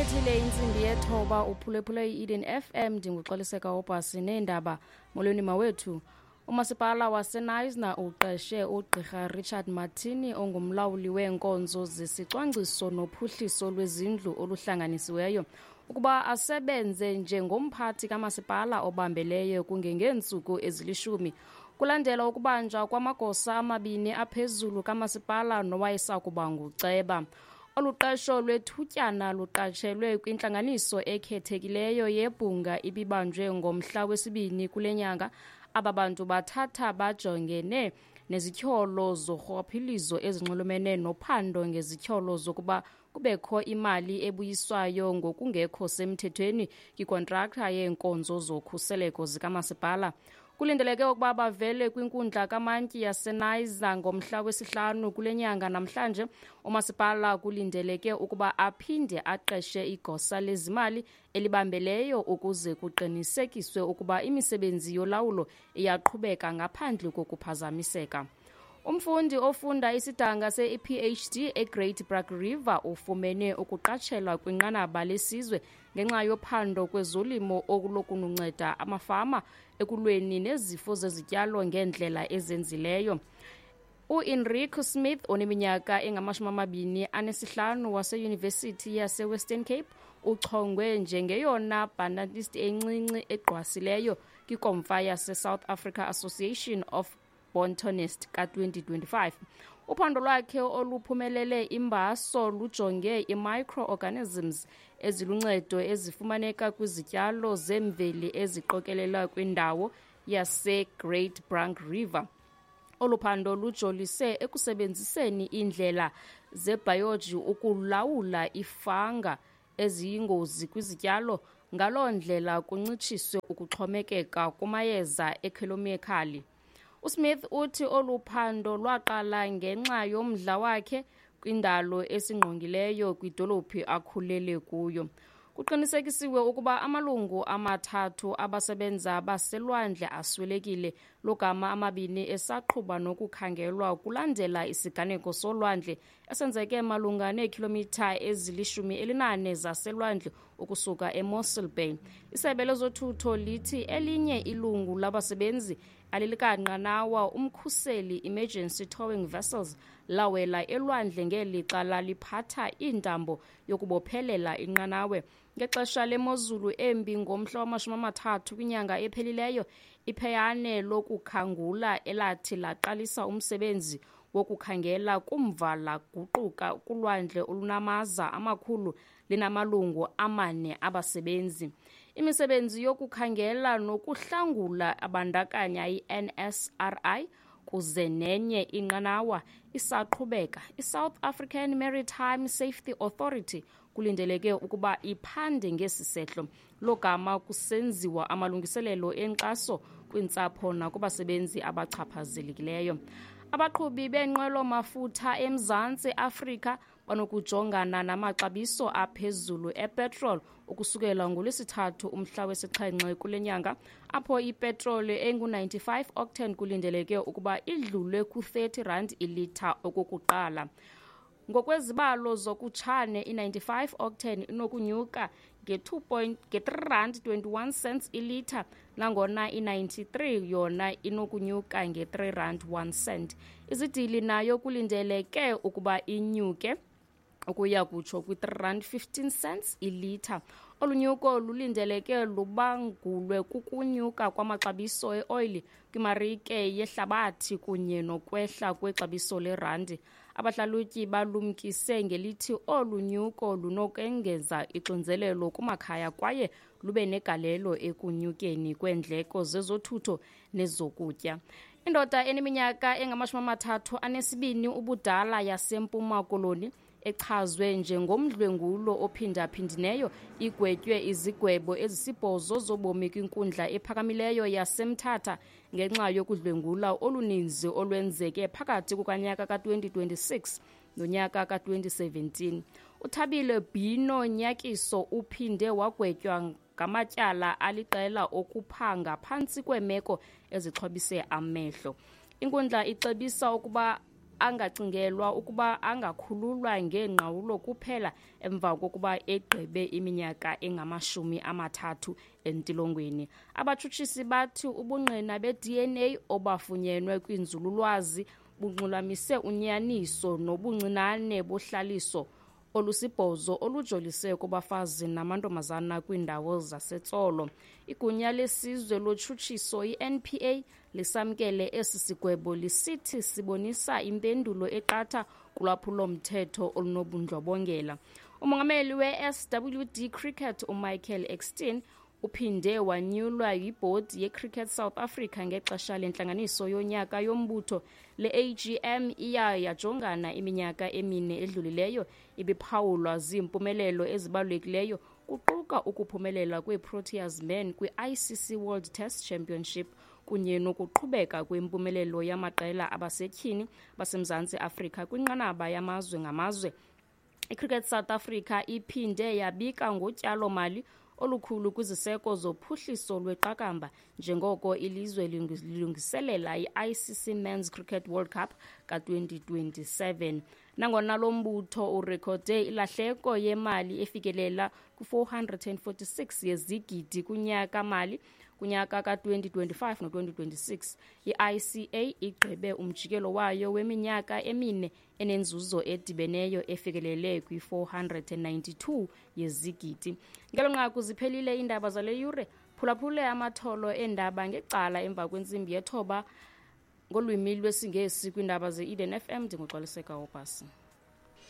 Ibethile intsimbi yethoba, uphulephule i-Eden FM. Ndinguxoliseka Obhasi neendaba. Molweni mawethu. Umasipala waseNysna uqeshe ugqirha Richard Martini, ongumlawuli weenkonzo zesicwangciso nophuhliso lwezindlu oluhlanganisiweyo, ukuba asebenze njengomphathi kamasipala obambeleyo kungengeentsuku ezilishumi, kulandela ukubanjwa kwamagosa amabini aphezulu kamasipala nowayesakuba nguceba. Olu qesho lwethutyana luqatshelwe kwintlanganiso ekhethekileyo yebhunga ibibanjwe ngomhla wesibini kule nyanga. Aba bantu bathatha bajongene nezityholo zorhwaphilizo ezinxulumene nophando ngezityholo zokuba kubekho imali ebuyiswayo ngokungekho semthethweni kwikontrakta yeenkonzo zokhuseleko zikamasipala. Kulindeleke ukuba bavele kwinkundla kamantyi yaseNiza ngomhla wesihlanu kule nyanga. Namhlanje umasipala kulindeleke ukuba aphinde aqeshe igosa lezimali elibambeleyo ukuze kuqinisekiswe ukuba imisebenzi yolawulo iyaqhubeka ngaphandle kokuphazamiseka. Umfundi ofunda isidanga se-PhD eGreat Brak River ufumene ukuqatshelwa kwinqanaba lesizwe ngenxa yophando kwezolimo okulokunceda amafama ekulweni nezifo zezityalo ngeendlela ezenzileyo. U-Enrico Smith, oneminyaka engama-25 waseyunivesithi yaseWestern Cape, uchongwe njengeyona botanist encinci egqwasileyo kwikomfa yase-South Africa Association of Botanist ka-2025. Uphando lwakhe oluphumelele imbaso lujonge i-microorganisms eziluncedo ezifumaneka kwizityalo zemveli eziqokelelwa kwindawo yase-Great Brak River. Olu phando lujolise ekusebenziseni iindlela zebhayoji ukulawula ifanga eziyingozi kwizityalo, ngaloo ndlela kuncitshiswe ukuxhomekeka kumayeza ekhemikhali. USmith uthi olu phando lwaqala ngenxa yomdla wakhe kwindalo esingqongileyo kwidolophi akhulele kuyo. Kuqinisekisiwe ukuba amalungu amathathu abasebenza baselwandle aswelekile, logama amabini esaqhuba nokukhangelwa, kulandela isiganeko solwandle esenzeke malunga neekhilomitha ezili-14 zaselwandle ukusuka eMossel Bay. Isebe lezothutho lithi elinye ilungu labasebenzi alilikanqanawa umkhuseli Emergency Towing Vessels lawela elwandle ngelixa laliphatha iintambo yokubophelela inqanawe ngexesha lemozulu embi ngomhla wama-30 kwinyanga ephelileyo. Ipheyane lokukhangula elathi laqalisa umsebenzi wokukhangela kumva laguquka kulwandle olunamaza amakhulu linamalungu amane abasebenzi. Imisebenzi yokukhangela nokuhlangula abandakanya i-NSRI kuze nenye inqanawa isaqhubeka. I-South African Maritime Safety Authority kulindeleke ukuba iphande ngesi sehlo, logama kusenziwa amalungiselelo enkxaso kwiintsapho nakubasebenzi abachaphazelekileyo. Abaqhubi beenqwelo mafutha eMzantsi Afrika banokujongana namaxabiso aphezulu epetrol ukusukela ngoLwesithathu umhla wesixhenxe kule nyanga, apho ipetroli engu-95 octane kulindeleke ukuba idlule ku-R30 ilitha okokuqala. Ngokwezibalo zokutshane, i-95 octane inokunyuka nge-3 rand 21 cents ilitha, nangona i-93 yona inokunyuka nge-3 rand 1 cent. Izidili nayo kulindeleke ukuba inyuke ukuya kutsho kwi-3 rand 15 cents ilitha. Olu nyuko lulindeleke lubangulwe kukunyuka kwamaxabiso eoyili kwimarike yehlabathi kunye nokwehla kwexabiso lerandi. Abahlalutyi balumkise ngelithi olu nyuko lunokengeza ixinzelelo kumakhaya kwaye lube negalelo ekunyukeni kweendleko zezothutho nezokutya. Indoda eneminyaka engama-32 ubudala yaseMpuma Koloni echazwe njengomdlwengulo ophindaphindineyo igwetywe izigwebo ezisibhozo zobomi kwinkundla ephakamileyo yaseMthatha ngenxa yokudlwengula oluninzi olwenzeke phakathi kukanyaka ka-2026 nonyaka ka-2017. UThabile Bhino Nyakiso uphinde wagwetywa ngamatyala aliqela okuphanga phantsi kweemeko ezixhobise amehlo. Inkundla icebisa ukuba Angacingelwa ukuba angakhululwa ngeengqawulo kuphela emva kokuba egqibe iminyaka engama-30 entilongweni. Abatshutshisi bathi ubungqina be-DNA obafunyenwe kwinzululwazi bunxulamise unyaniso nobuncinane bohlaliso olusibhozo olujolise kubafazi namantombazana kwiindawo zaseTsolo. Igunya lesizwe lotshutshiso i-NPA lisamkele esi sigwebo lisithi sibonisa impendulo eqatha kulwaphulo-mthetho olunobundlobongela. Umongameli we-SWD Cricket uMichael Ekstein uphinde wanyulwa yibhodi yeCricket South Africa ngexesha lentlanganiso yonyaka yombutho. Le AGM iya yajongana iminyaka emine edlulileyo ibiphawulwa ziimpumelelo ezibalulekileyo, kuquka ukuphumelela kweeProteas Men kwi-ICC World Test Championship kunye nokuqhubeka kwempumelelo yamaqela abasetyhini baseMzantsi Afrika kwinqanaba yamazwe ngamazwe. ICricket South Africa iphinde yabika ngotyalo-mali olukhulu kwiziseko zophuhliso lweqakamba njengoko ilizwe lilungiselela i-ICC Men's Cricket World Cup ka-2027. Nangona lo mbutho urekhode ilahleko yemali efikelela ku-446 yezigidi kunyaka-mali kunyaka ka-2025 no-2026, i-ICA igqibe umjikelo wayo weminyaka emine enenzuzo edibeneyo efikelele kwi-492 yezigidi. Ngelo nqaku ziphelile iindaba zale yure. Phulaphule amatholo eendaba ngecala emva kwentsimbi yethoba ngolwimi lwesiNgesi kwiindaba ze-Eden FM. Ndinguxoliseka Obhasi.